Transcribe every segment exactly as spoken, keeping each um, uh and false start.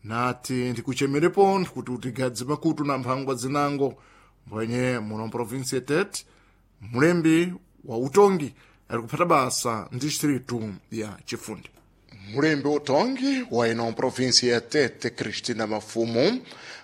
Nati ndikuchemerepo kuti utigadze makutu na mphangwa zinango mbwenye muno mprovinsi ya Tete mulembi wa utongi ali kuphata basa ndistritu ya Chifunde. Mulembi utongi wa ino provinsi ya Tete Cristina Mafumu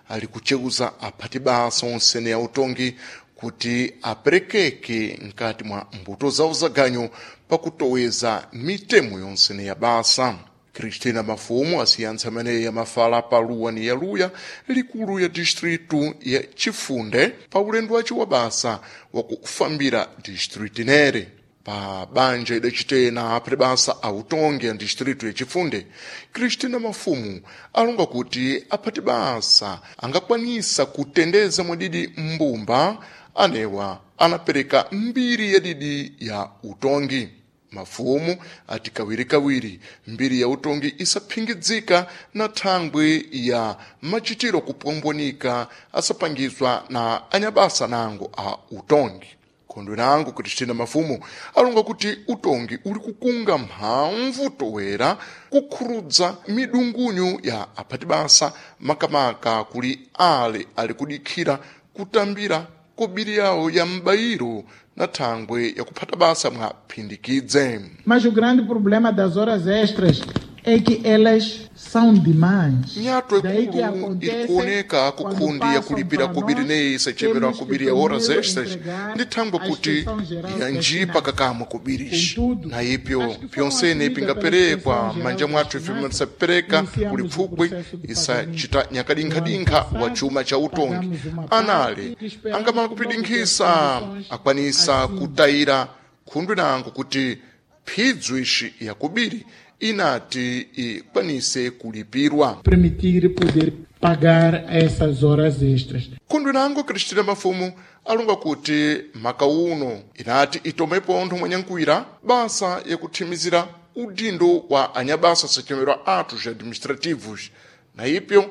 ali kucheuza aphati basa onsene ya utongi kuti aperekeke nkati mwa mbuto zawo zaganyu pakutoweza mitemo yonsene ya basa. Cristina Mafumu asiyantsa ameneyi amafala paluwa ni yaluya likulu ya distritu ya Chifunde pa ulendo wace wa basa wakufambira distritu inere. Pa banja idacitena aphati basa autongi ya distritu ya Chifunde, Cristina Mafumu alonga kuti aphati basa angakwanisa kutendeza mwadidi mbumba anewa anapereka mbiri yadidi ya utongi. Mafumu ati kawirikawiri mbiri ya utongi isaphingidzika na thangwi ya machitiro kupwombwonika asapangizwa na anyabasa nango a utongi. Khondwe nango Cristina Mafumu alonga kuti utongi uli kukunga mphamvu towera kukhurudza midungunyu ya aphati basa makamaka kuli ale ali kudikhira kutambira kobiri yawo ya m'bayiro na thangwe yakuphata basa mwa phindikidze. Mas o grande problema das horas extras é que elas são demais. Nyato Daí que ikulu acontece ilikuoneka quando kukhundi passam yakulipira para kubiri nós, neyi isachepera temos que kubiri ya horas primeiro extras entregar ndi thangwe à kuti Inspeção Geral ya das njipa Finanças. kakamwe kubirici. Contudo, Na ipyo as que foram pyonsene assumidas pela pingaperekwa Inspeção Geral m'manja das mwathu ife Finanças, tisapereka iniciamos kuli o pfupwi processo de isachita pagamento. No ano nyakadinkha-dinkha wa passado, chuma cha utongi. pagamos uma Anale parte que esperamos angamala logo ter as kupidinkhisa condições akwanisa assim. kutayira khundwe nango kuti phidzo ixi yakubiri inati ikwanise kulipirwa. Permitir poder pagar essas horas extras. Khundwe nango Cristina Mafumu alonga kuti maka uno inati itomepo nthu mwanyankwira basa yakuthimizira udindo wa anyabasa sachemerwa atos administrativos. Na ipyo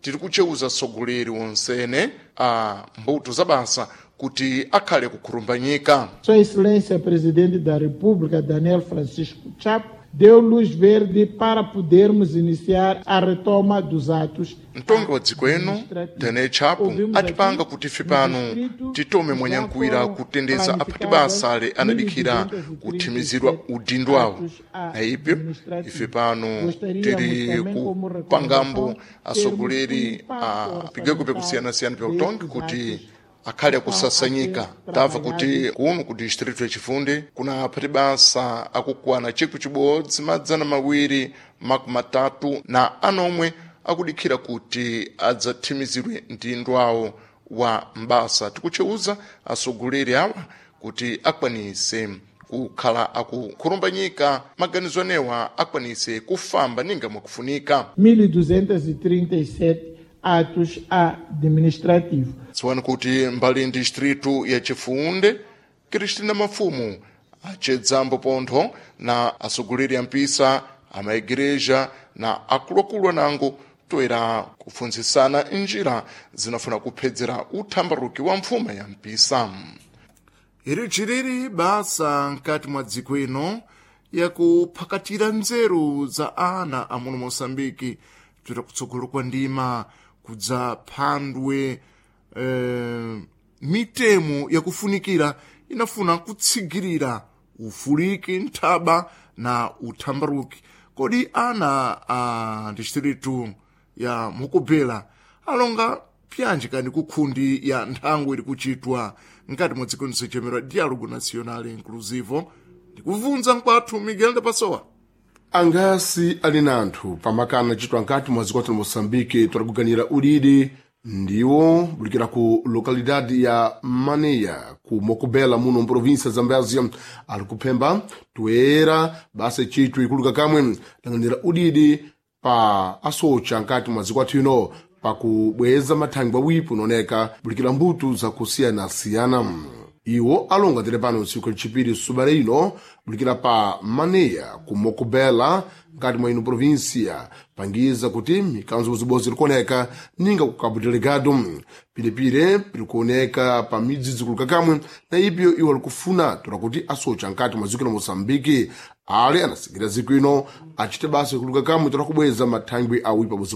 tiri kucheuza atsogoleri wonsene a mbuto za basa kuti akhale kukhurumbanyika. Sua Excelência Presidente da República, Daniel Francisco Chapo, deu luz verde para podermos iniciar a retoma dos atos Mtongi wa dziko ino administrativos. Daniel Chapo Ouvimos atipanga aqui kuti ife no pano distrito titome já mwanyankwira foram kutendeza aphati planificadas basa ale anadikhira mil duzentos e trinta e kuthimizidwa sete udindo awo. atos Na ipyo ife administrativos. pano Gostaríamos tiri também, como kupangambo recomendação, termos um atsogoleri a impacto pigwekwe orçamentário kusiyana-siyana pya utongi destes kuti atos akhale que estão a ser akusasanyika. Tamva kuti trabalhados kuno ku distritu ya Chifunde kuna aphati basa akukwana chikwi chibodzi madzana mawiri makumi matatu na anomwe akudikhira kuti adzathimizidwe mdindo awo wa mbasa. Tikucheuza atsogoleri awa kuti akwanise kukhala akukhurumbanyika maganizo anewa akwanise kufamba ninga mwakufunika. mil duzentos e trinta e sete atos administrativos. Dziwani kuti mbali distritu ya Chifunde, Cristina Mafumu acedzambo pontho na atsogoleri a mpisa amaigreja na akuluakulu anango toera kupfunzisana njira zinafuna kuphedzera uthambaruki wa mfuma ya mpisa. Iri chiriri basa nkati mwa dziko ino yakuphakatira nzeru za ana a muno Moçambike toera kutsogolo kwa ndima kudza phandwe eh, mitemo yakufunikira inafuna kutsigirira ufuliki nthaba na uthambaruki. Kodi ana a distritu ya Mukubela alonga pyanji kani kukhundi ya nthangu ili kuchitwa nkati mwa dziko lisochemerwa Diálogo Nacional Inclusivo ndikubvunza mkwathu Miguel de Passoa. Angasi ali na anthu pamakana acitwa nkati mwa dziko la Moçambique twalikuganira ulidi ndiwo bulikira ku localidade ya Maneia ku Mocobela muno mprovíncia Zambézia ali kuphemba toera basa icitwa ikuluka kamwe langanira udidi pa asocha nkati mwa dziko athu ino pakubweza mathangwi awipo unaoneka bulikira mbuto zakusiyanasiyana. Iwo alonga tere pano tsiku lachipiri subale ino bulikira pa Maneia ku Mocobela nkati mwa ino província pangiza kuti mikanzo bozibodzi likuoneka ninga ku Cabo Delgado pilipile pilikuoneka pa midzi zikuluka kamwe na ipyo iwo alikufuna tola kuti asocha nkati mwa dziko la Moçambique ale anasikira dziko ino acite basa ikuluka kamwe tola kubweza mathangwi awipa bozibodzi.